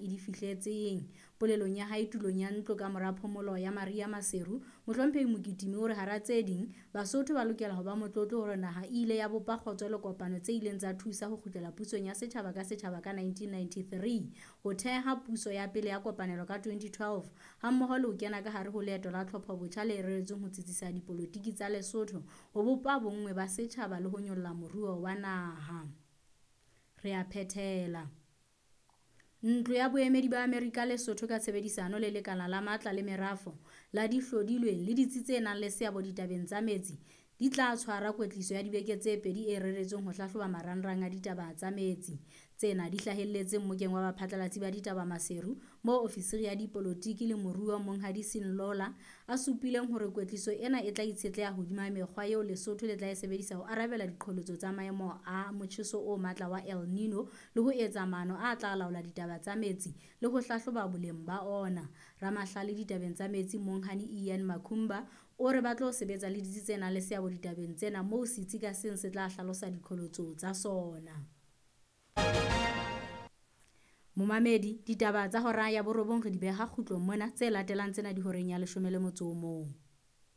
e di fihletseng. Polelong ya hae tulong ya ntlo ka mora phomolo ya Maria Maseru, Mohlomphehi Mokitimi o re hara tse ding, Basotho ba lokela ho ba motlotlo hore naha e ile ya bopa kgotso le kopano tse ileng tsa thusa ho kgutlela pusong ya setjhaba ka setjhaba ka 1993, ho theha puso ya pele ya kopanelo ka 2012, hammoho le ho kena ka hare ho leeto la tlhopho-botjha le reretsweng ho tsitsisa dipolotiki tsa Lesotho, ho bopa bonngwe ba setjhaba le ho nyolla moruo wa naha. Re a phethela. Ntlo ya Boemedi ba Amerika Lesotho ka tshebedisano le Lekala la Matla le Merafo la Dihlodilweng le ditsi tse nang le seabo ditabeng tsa metsi di tla tshwara kwetliso ya dibeke tse pedi e reretsweng ho hlahloba marangrang a ditaba tsa metsi. Tsena di hlahelletse mmokeng wa baphatlalatsi ba ditaba Maseru, moo ofisiri ya dipolotiki le moruo Monghadi Sean Lawler a supileng hore kwetliso ena e tla itshetleha hodima mekgwa eo Lesotho le tla e sebedisa ho arabela diqholotso tsa maemo a motjheso o matla wa El Nino le ho etsa maano a tla laola ditaba tsa metsi le ho hlahloba boleng ba ona. Ramahlale ditabeng tsa metsi Monghadi Ian Makumba o re ba tlo sebetsa le ditsi tse nang le seabo ditabeng tsena moo setsi ka seng se tla hlalosa diqholotso tsa sona. Momamedi, ditaba tsa hora ya borobong re di beha kgutlong mona, tse latelang tsena di horeng ya 11.